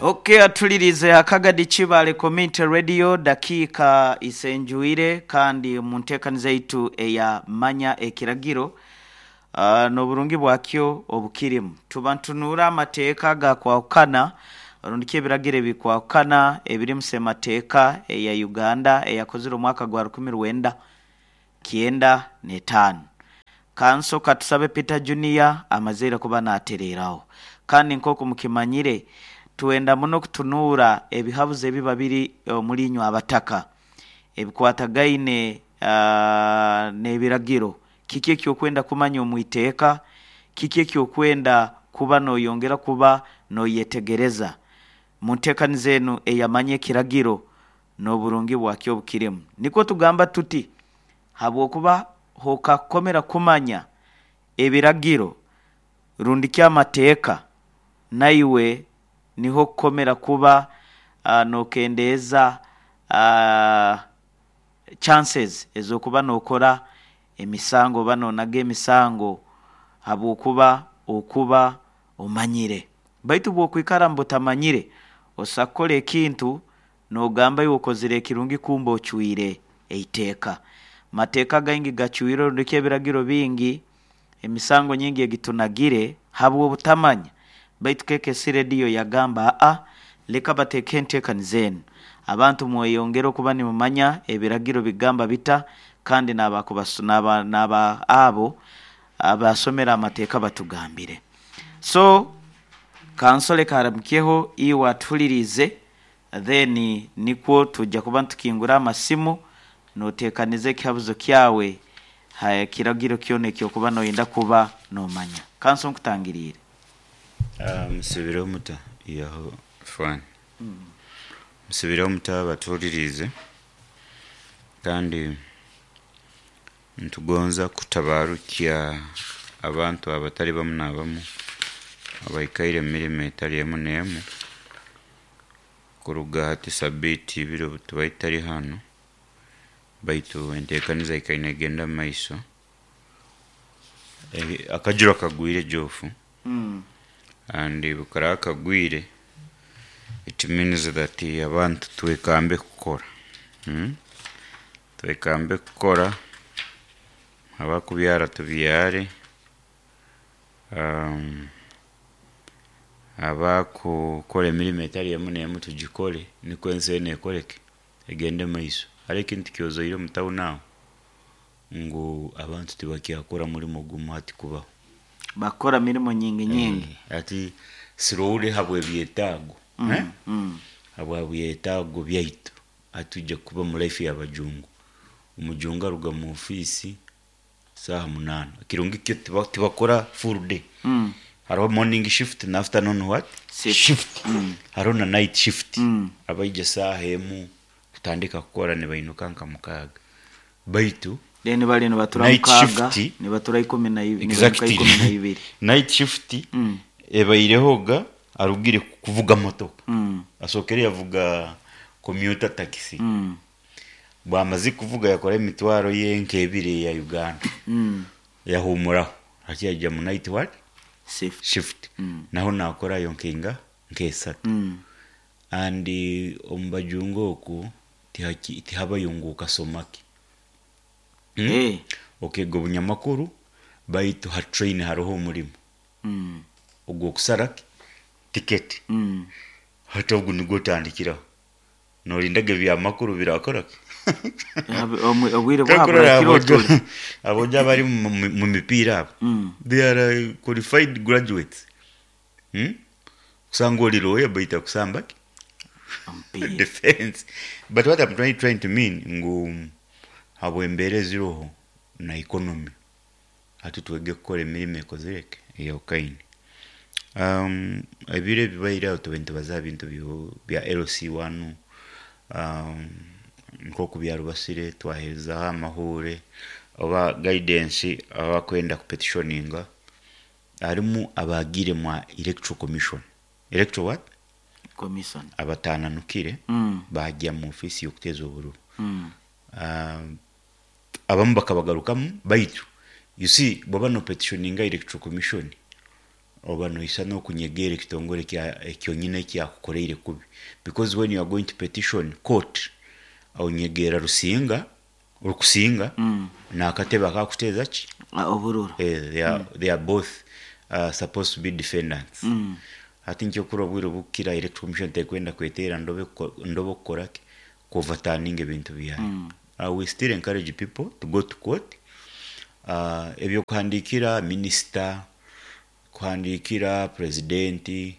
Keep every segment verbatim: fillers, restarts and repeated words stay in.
Okay, atulirize Akagadi Kibale Community Radio, dakiika isenjuire kandi mu nteekaniza yaitu eya Manya Ekiragiro, uh, n'oburungi bwakyo obukirimu tuba ntunuura amateeka gakwahukana rundi ebiragiro ebikwahukana ebiri mu semateeka eya Uganda eyakozire omwaka gwa rukumi rwenda kyenda n'etaano. Kanso Katusabe Peter Junior amazeire kuba naatereeraho, kandi nk'oku mukimanyire twenda muno kutunuura ebihabuzo ebiba biri omuri inywe abataka ebikwatagaine uh, n'ebiragiro. Kiki ekyokwenda kumanya omu iteeka? Kiki ekyokwenda kuba noyongera kuba noyetegereza mu nteekaniza enu eyamanya ekiragiro n'oburungi bwakyo obukirimu? Nikwo tugamba tuti habwokuba hokakukomera kumanya ebiragiro rundi ky'amateeka, naiwe niho kukomera kuba uh, nokendeeza uh, chances ez'okuba nokora emisango oba nonaga emisango, habwokuba okuba omanyire. Baitu bw'okwikara mubutamanyire, osobola kukora ekintu nogamba iwe okozire ekirungi, kumbe ocwire eiteeka. Mateeka gaingi gacwire rundi ebiragiro bingi, emisango nyingi egitunagire habw'obutamanya. Baitu K K C Radio yagamba, aa, leka bateeke enteekaniza enu, abantu mweyongere okuba nimumanya ebiragiro bigamba bita, kandi n'aba n'aba abo abasomera amateeka batugambire. So kansole karamukyeho iwe atuhuliriize, then nikwo tujja kuba ntukingura amasimu noteekaniza ekihabuzo kyawe ha kiragiro kyona ekyokuba noyenda kuba nomanya. Kanso, nkutangiriire. Ah, musibireho muta yaho fani, musibireho muta abatuhuliriize? Kandi nitugonza kutabarukya abantu abatali bamu n'abamu abaikaire mu mirimo etali emu n'emu kuruga hati sabiiti ibiri obu tubaire tutali hanu, baitu enteekaniza ikaire negenda mu maiso. Eh, akajura kagwire jofu mm. and bukaraba kagwire, it means that abantu twekambe kukora, hmm? Twekambe kukora, abakubyara tubyare, um, abakukora emirimo etali emu n'emu tugikore, nikwo ensi enu ekoreke, egende maiso. Hariho ekintu kyozoire omu tawuni aho ngu abantu tibakyakora mulimo gumu hati kubaho. Bakora mirimo nyingi nyingi. Eh, ati slowly habw'ebyetaago, mm. eh? mm. Habwa byetaago byaitu atujja kuba mu life y'abajungu. Omujungu aruga mu ofiisi saaha munaana, kirungi kyo tiba- tibakora full day. Mm. Hariho morning shift na afternoon what? Shift. Shift. Mm. Hariho na night shift. Mm. Abaija saaha emu kutandika kukora nibainuka nka mukaaga, baitu Then bali nibatura night mukaaga shift. Nibatura ikumi na ibiri, nibaruka Exactly. ikumi na ibiri. Night shift Mm. ebairehoga arugire kuvuga motoka, Mm. asookere yavuga commuter taxi. Mm. Bwamaze kuvuga yakora emitwaro ye nk'ebiri ya Uganda, Mm. yahumuraho hati yajya mu night what? Shift. Shift. Mm. Naho nakorayo nkenga nk'esatu. Mm. And omu bajungu oku tihaki- tihabayo ngu okasomaki, hmm? Eh. Okega obunyamakuru, baitu ha train hariho omurimo Mm. ogw'okusara tiketi. Mm. Hati ogu nigwo otandikiraho nolindaga ebyamakuru birakoraki. Habe- omwe- obwire Kakurora bwabura kiro abojo tuli. Abojo abari mu mu- mu mipiira abo, Mm. they are uh, qualified graduates, hmm? Kusanga oli lawyer baita kusamba ki? Omupiira. Defense. But what I'm trying, trying to mean ngu habw'embeera eziroho na economy, hati twege kukora emirimo ekozireke eyawukaine. um, ebiro ebibaire aho tube nitubaza bintu byo- bya L C one, um, nk'oku byarubasire twaherezaho amahure oba guidance abakwenda kupetitioninga. Harimu abagire mwa electoral commission, electoral what? Commission. Abatananukire Mm. bajya mu ofisi y'okuteza obururu. Mm. um, abamu bakabagarukamu, baitu you see bwaba no petitioninga electoral commission, Oba noisa n'okunyegera ekitongore kya ekyonyine ekyakukoreire kubi, because when you are going to petition court, onyegera Rusinga, Rukusinga Mm. n'akatebe akakuteeza ki. Ah, obururu. Eh, they are, they are both uh, supposed to be defendants. Mm. Hati nkyokura obwire obukukira, Electoral Commission tekwenda kweteera ndobe kuko- ndobe okukora ki, kuoverturning ebintu byayo. Mm. uh, we still encourage people to go to court. uh, ebyokuhandikira minisita, kuhandikira presidenti,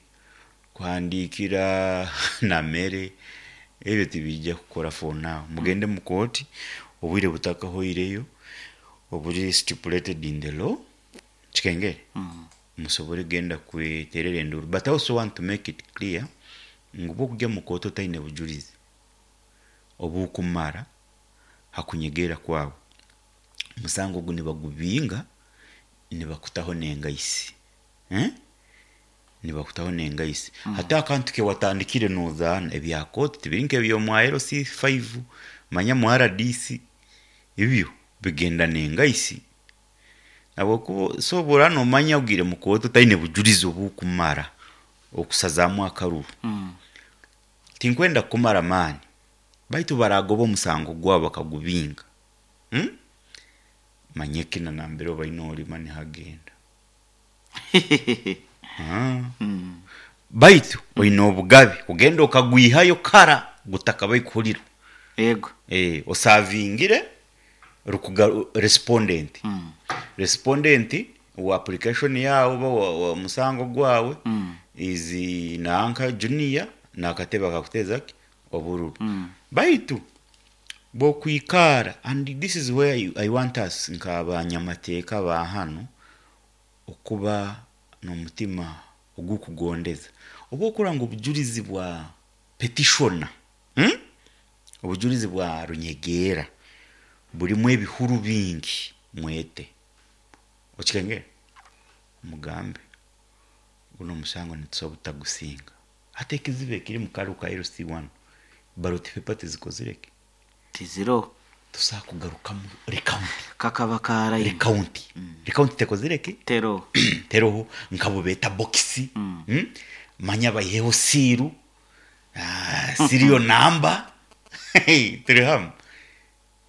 kuhandikira namere, ebyo tibijja kukora for now. Mugende mu kooti obwire butakahoireyo, obuli stipulated in the law, kikengere. Mm. Musobole genda kweterera enduru. But I also want to make it clear ngu bwokujya mu kooti otaine bujulizi obukumara hakunyegera kwawe, musango ogu nibagubinga, nibakutaho nengaisi, eh? Nibakutaho nengaisi. mm. Hati akantu kewatandikire nozaana ebya kooti tibiri nk'ebyomwa L C five, manya mu R D C, ebyo bigenda nengaisi. Habwokuba sobora nomanya ogire mu kooti otaine bujulizi obukumara okusazaamu akaruru. Mm. Tinkwenda kumara amaani, baitu baragoba omusango gwabo bakagubinga, hmm? Manye kina nambere obaine olima nihagenda. Ah. Mm. Baitu oine obugabe kugenda okagwihayo kara gutakabai kuhurirwa. Yego. Eh, osavingire rukuga respondent. Mm. Respondent wa application yawe oba wa, wa musango gwawe Mm. is nanka junior nakatebe akakuteza ki obururu. Mm. Baitu bwokwikara, and this is where you, I want us nk'abanyamateeka ba hano okuba n'omutima ogukugondeza, oba okura ngu obujulizi bwa petitioner, hmm? Obujulizi bwa runyegeera burimu ebihuru bingi, mwete okikengere, mugambe guno omusango nitusobola butagusinga. Hati ekizibu ekiri mu karu ka L C one, ballot paper tizikozireke. Tiziro. Tusobola kugarukamu recount. Kakaba karayi. Recount, recount tekozireke. Tero. Teroho nkabo beta bokisi. Mm. mm? Manya bayiheho siiru, ah, serial number, turi hamwe.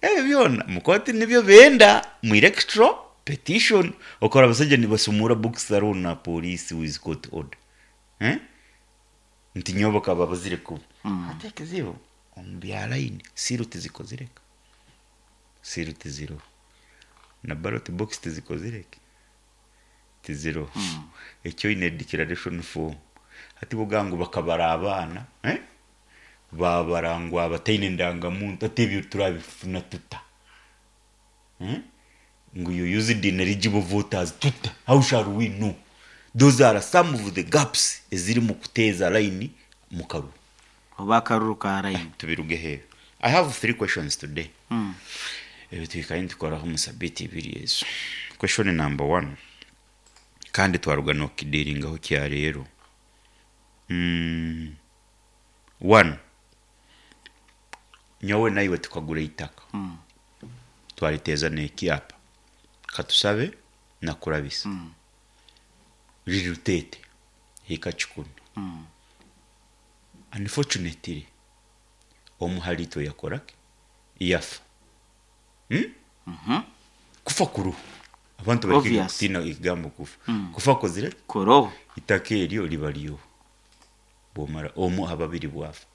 Ebyo byona mukoti nibyo benda mu electoral petition. Okora abasajja nibasumura box hariho na police with court order, eh? Nti nyowe bakaba bazire kuba. Mm. Ate ekizibu omu bya line, siiru tizikozireka, siiru tiziroho, na ballot box tizikozireke, tiziroho. Ekyo oine declaration form, hati boga ngu bakabara abaana, eh? Babara ngu abataine ndangamuntu, ate ebyo turabifuna tuta, eh? Ngu you used ineligible voters tuta, how shall we know? Those are some of the gaps eziri mu kuteeza line mu karuru. Oba akaruru karayi. Tubiruge heero. I have three questions today. Mm. Ebyo twikaye nitukoraho mu sabiti ibiri ezo. Question number one, kandi twaruga nokidiringaho kya leero. mm, one, nyowe naiwe tukagura itaka. Mm. Twariteeza n'ekyapa katusabe nakurabisa. Mm. Riri Rutete, hika kikumi. Mm. Unfortunately, omu halitwe yakoraki, yafa, hmm? Mhm. Kufa kuruhu, abantu bareke Obvious. kutina ekigambo kufa. Mm. Kufa kozire. Kuroho. Itaka eryo liba lyo bwomara omu ababiri bwafa.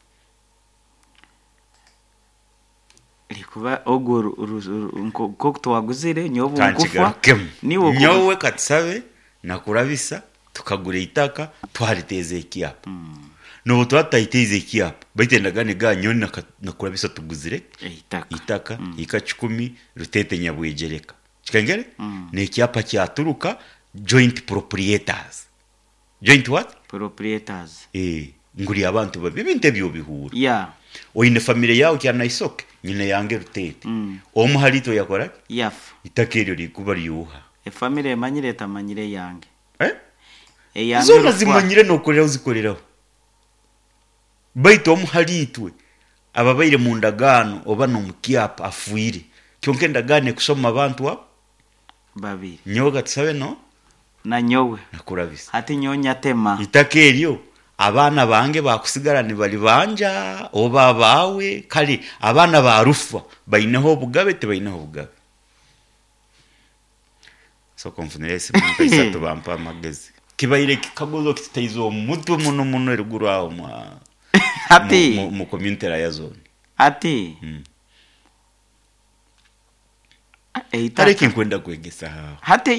Likuba ogwo ru- ru- ru- nko nko twaguzire nyowe nkufa. Kankigarukemu. Niwe okufa. Nyowe katusabe nakurabisa tukagura itaka, twariteeza ekyapa. Mm. Nobu twatayiteeza ekyapa, baitu endagaano ega nyowe naka- nakurabisa tuguzire Eitaka. Itaka ika kikumi Rutete Nyabwegereka, kikengere. Mm. N'ekyapa kyaturuka joint proprietors, joint what? Proprietors. Eh, nguri abantu babi, ebintu ebyo bihura. Yeah. Oine famire yawe kyanaisoke nyina yange Rutete. Mm. Omu halitwe yakora Yafa. itaka eryo likuba ryuha. Efamire emanyire etamanyire yange. Eh? Eyange Zona rukwa. zimanyire nokoreraho zikoreraho, baitu omu halitwe ababaire mu ndagaano oba nomukyapa afuire, kyonka endagaano ekusoma abantu abo Babiri. Nyowe katusabe no Nanyowe. Nakurabisa. Hati nyowe nyatema. Itaka eryo abaana bange bakusigara nibali banja oba abawe. Kale abaana ba Rufa baineho obugabe, tibaineho obugabe? Soka nfunire esimu nka isatu, bampa amagezi. Kibaire kikaguzo kitutaize omutwe muno muno eruguru aho mwa Hati mu, mu, mu community ya zone. Hati mm. eitaka Kale kinkwenda kwegesa aho. Hati.